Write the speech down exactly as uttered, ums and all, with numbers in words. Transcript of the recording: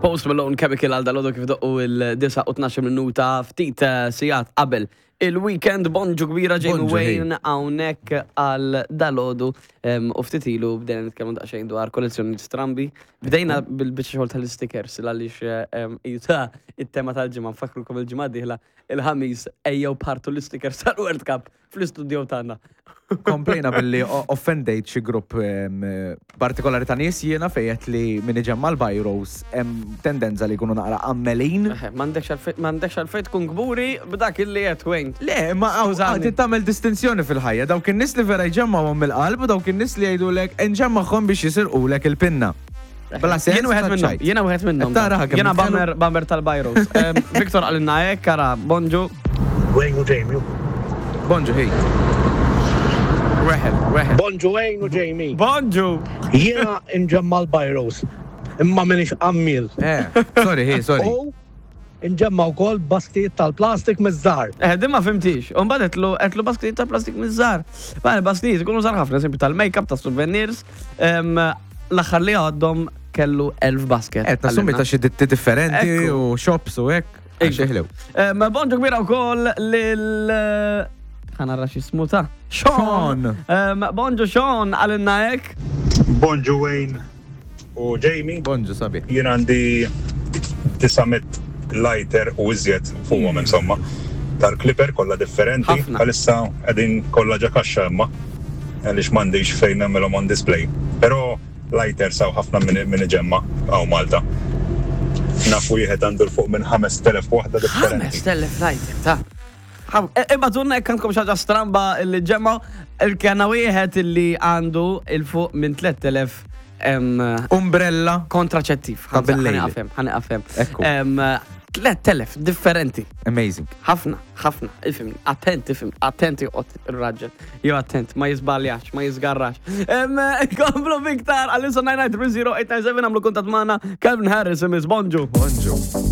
Post Malone, Chemical għal dalgħodu kif doqqu il-disgħa u tnax-il minuta ftit eh, sigħat qabel il-weekend. Bonġu kbira, Jamie. Bonġu, hey. Wayne hawnhekk għal dalgħodu em, u ftit ilu bdejna nitkellmu daqsxejn dwar kollezzjoni strambi. Bdejna bil-biċċa xogħol tal-stickers għaliex em, jita it-tema tal-ġimgħa. Nfakkrukom, il-ġimgħa dieħla, il-Ħamis, ejjew partu l-stickers tal-World Cup fl-istudio tagħna. Komplejna billi o- offendejt xi grupp em, partikolari ta' nies jiena fejjet li min iġemma l-biros hemm tendenza li jkunu naqra ammelin. Eħe, M'għandekx għalfejn m'għandekx għalfejn tkun kburi b'dak illi qed, Wayne. Le, ma għaw Skużani. għad tagħmel distinzjoni fil-ħajja, dawk in-nies li vera jġemmawhom mill-qalb u dawk in-nies li jgħidulek nġemmagħhom biex jisirqulek il-pinna. Bla sens. Jien wieħed minnhom, taċ-ċajt. jiena wieħed minnhom. Qed tara kemm Jiena nitkellmu? bammer bammer tal-biros. Em, Victor qalilna hekk, ara, bonġu. Wayne u Jamie. Bonġu, hey. Weħel, weħel. Bonġu, Wayne u Jamie. Bonġu. Jiena nġemma l-biros. Imma minix għammil. Eh, sorry, hey, sorry. U nġemma wkoll basktijiet tal-plastik miż-żgħar. Eh, din ma fhimtix. U mbagħad għedtlu għedtlu basktijiet ta' plastik miż-żgħar. Ma basktijiet ikunu żgħar ħafna, eżempju tal-make-up, ta' souvenirs. Em, L-aħħar li għaddhom kellu elf basket. Eh, tassumi ta' xi ditti differenti Ekku. u shops u hekk. Għax jeħlew. Em, Bonġu kbira wkoll lil ħa nara x'jismu ta' Sean. Sean. Em, Bonġu Sean, qalilna hekk. Bonġu, Wayne u Jamie. Bonġu, sabi. Jien għandi disa' mitt lighter u iżjed fuqhom, insomma. Tal-clipper kollha differenti. Ħafna. Għalissa qegħdin kollha ġo kaxxa imma għaliex m'għandix fejn nagħmilhom on display. Però lighter saw ħafna minn min iġemma hawn Malta. Nafu wieħed għandu 'l fuq minn ħamest elef waħda differenti. Ħames telef lighter ta' Ibagħtulna jekk għandkom xi ħaġa stramba illi ġemma. Il-kena wieħed illi għandu 'il fuq minn tlett elef em, Umbrella. kontraċettiv. Ta' bil-lejl. Ħa nieqaf hemm, ħa nieqaf hemm. Ekku. Em, tlett elef differenti. Amazing. Ħafna, ħafna, ifhem, attent, ifhem, attent joqgħod ir-raġel. Jo attent, ma jiżbaljax, ma jiżgarrax. Em, Komplu biktar, għal-issa tnejn tnejn tlieta żero tmien tnejn seba', għamlu kuntatt magħna. Calvin Harris, imiss, bonġu. Bonġu.